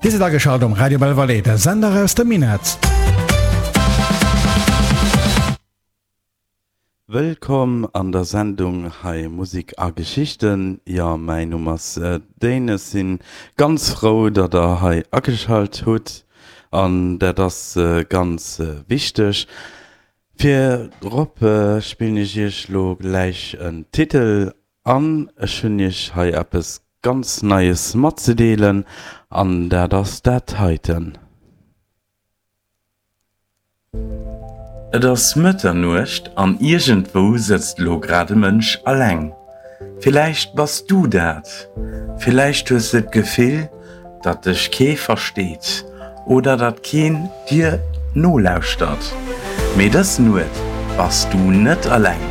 Dir sidd ageschalt um Radio Belval, de Sender aus dem Minett. Wëllkomm an der Sendung hei Musik a Geschichten. Jo, mäin Numm ass Dane, ech sinn ganz frou datt der hei ageschalt hutt an dat ass ganz wichteg. Virop spillen ech iech lo gläich en Titel an ech hunn iech hei eppes ganz Neies matzedeelen an dat ass dat heiten. Et ass Mëtternuecht an iergendwou sëtzt elo grad e Mënsch alleng. Villäicht bass du dat. Villäicht hues de d'Gefill, datt dech kee versteet oder datt keen dir nolauschtert. Mee dës Nuet bass du net alleng.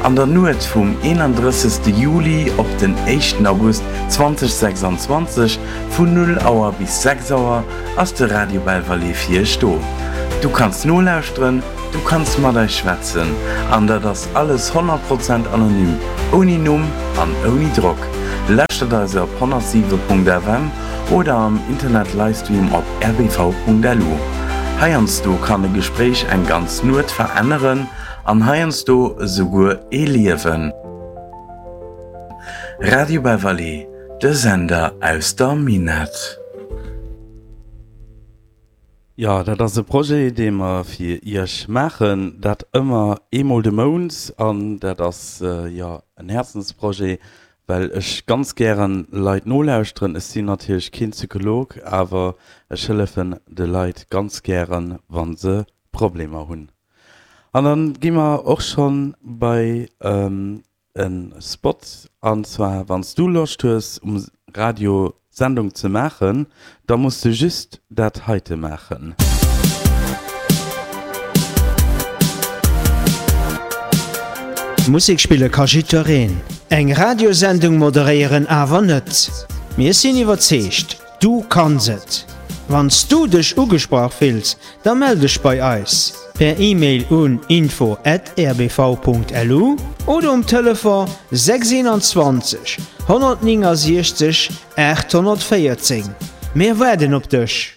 An der Nuet vum 31. Juli op den éischten August 2026 vun 0 Auer bis 6 Auer ass de Radio Belval fir iech do. Du kanns nolauschteren, du kanns mat eis schwätzen an dat ass alles 100 Prozent anonym, ouni Numm an ouni Drock. Lauschtert eis op 107.fm oder am Internet Livestream op rbv.lu. Heiansdo kann e Gespréich eng ganz Nuet veränneren an heiansdo esouguer ee Liewen. Radio Belval, De Sender aus der Minett. Jo, dat ass e Projet, dee mer fir Iech maachen, dat ëmmer eemol de Mount. An dat ass, jo, en Häerzensprojet, well ech ganz gären Leit nolauschteren. Ech sinn natierlech keen Psycholog, awer ech hëllefen de Leit ganz gären, wa se Problemer hunn. An dann gi mer och schonn bei en Spot, an zwar wanns du Loscht hues um Radio Sendung ze maachen, da muss de just dat heite maachen. Musek spille ka jiddwereen, eng Radiosendung moderéieren awer net. Mir sinn iwwerzeegt, Du kanns et! Wann s du dech ugesprach fills, da mell dech bei eis per E-Mail un info at rbv.lu oder um Telefon 621 169 814. Mir waarden op dech!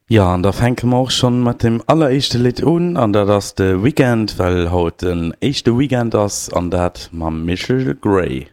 Jo, an da fänke mer och schonn mat dem alleréischte Lidd un, an dat ass de Weekend, well haut den éischte Weekend ass, an dat mam Michel Grey.